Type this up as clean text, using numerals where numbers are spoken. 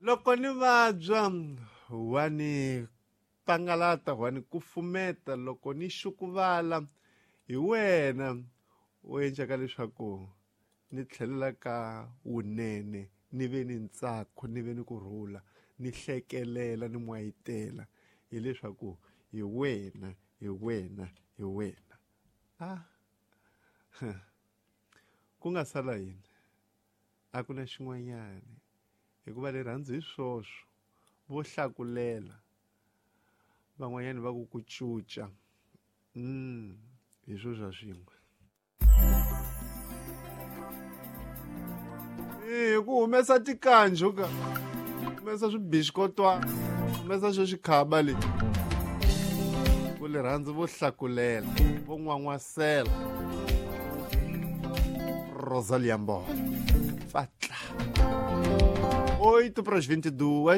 Loko ni vabya wa ni pangalata wa ni kufumeta loko ni xukuvala hi wena u endlaka leswaku ni tlhelela ka wunene ni ve ni ntsako ni ve ni kurhula ni hlekelela ni mwayitela hileswaku hi wena hi wena hi wena a ku nga sala yini a ku na xin'wanyana hikuva rirhandzu hi swoswo vo hlakulela van'wanyana va ku ku cuca hi swo swa swin'we hi ku humesa tikanju ka humesa swibixikotwana humesa xo xikhaba leyi ku rirhandzu vo hlakulela vo n'wan'wasela Rosalia Mbo. Fatla. 8 para as 22.